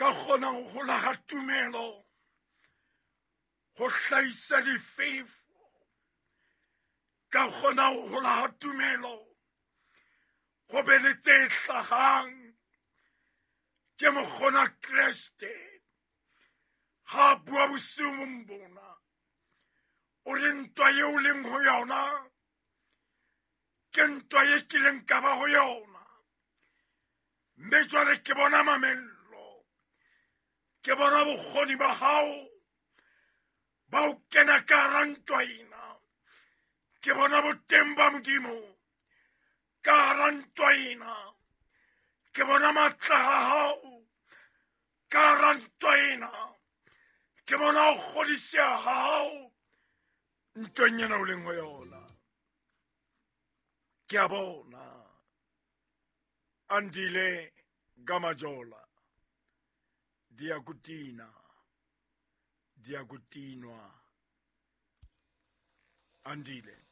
Ka kgona ho hola ga tumelo go hlahisa difefo. Ka kgona ho hola ga tumelo go be le tse hlagang. Ke mokgona Kreste ga a bua bosiung bona, o re ntwa yeo leng ho yona ke ntwa ye kileng ka ba ho yona, mme jwale ke bona mamello, ke bona bokgoni ba hao ba ho kena ka hara ntwa ena, ke bona boteng ba Modimo ka hara ntwa ena, ke bona matla a hao ka hara ntwa ena, ke bona ho kgodiseha ha hao ntweng ena o leng ho yona. Ke a bona Andile Gamajola diakutina diakutinwa Andile.